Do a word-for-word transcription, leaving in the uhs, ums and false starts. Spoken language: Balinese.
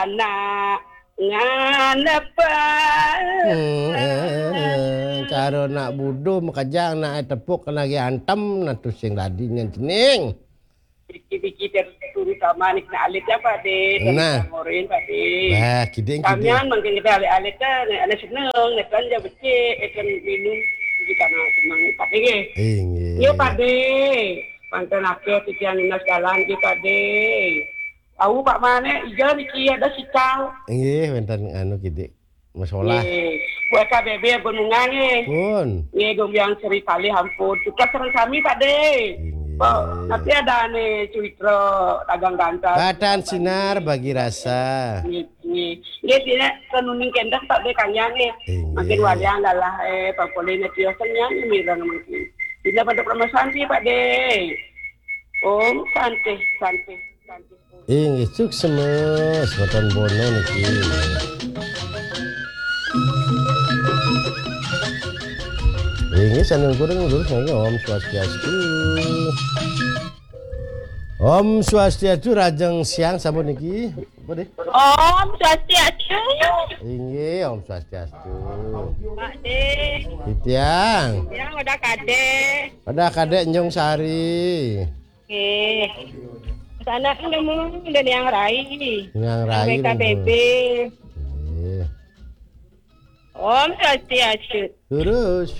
Nak nganepan. Hmm, eh, eh, cara nak buduh makejang nak tepuk kena lagi antem, nah tu sing dadi nyen cening. Dikit-dikit dari turu sama ni kena alit ya, Pak De. Dari Nah. Ngorin, Pak De. Bah, kiding, kiding. Kamian mungkin kita alit-alit kan, ada seneng, kan dia becik, kan minum, jadi karena senang, Pak De. Inggih. Ya, Pak De. Mantan akhir titian lunas jalan, Pak De. Tahu Pak Mane, iya niki ada sikal. Inggih, wenten anu kidik. Masalah. Nggih. Buat K B B Gunungan nggih. Pun. Nggih, gombiang seri kali ampun. Tugas sareng sami, Pak De. Inggih. Pak, nanti ada ane cuitro dagang ganteng. Batan sinar bagi rasa. Nggih, nggih. Nggih, dina kenuning kendang Pak De kanyang nggih. Inggih. Makin walian lalah, eh, Pak Polina tiosen nyanyi mireng mungkin. Dina pada permasalahan sih, Pak De. Om Santi, Santi, Santi. Inggih, suksema, semeton Bono niki. Inggih, saning kuring lurus niki, Om Swastiastu. Om Swastiastu, rajeng siang sampun niki. Apa, Dek? Om Swastiastu. Inggih, Om Swastiastu. Pak De. Titiang. Yang udah Kadek. Udah Kadek Njung Sari. Nggih. Sana nemu dan yang rai. Yang rai B K B B. Nggih. Om Swastiastu. Terus.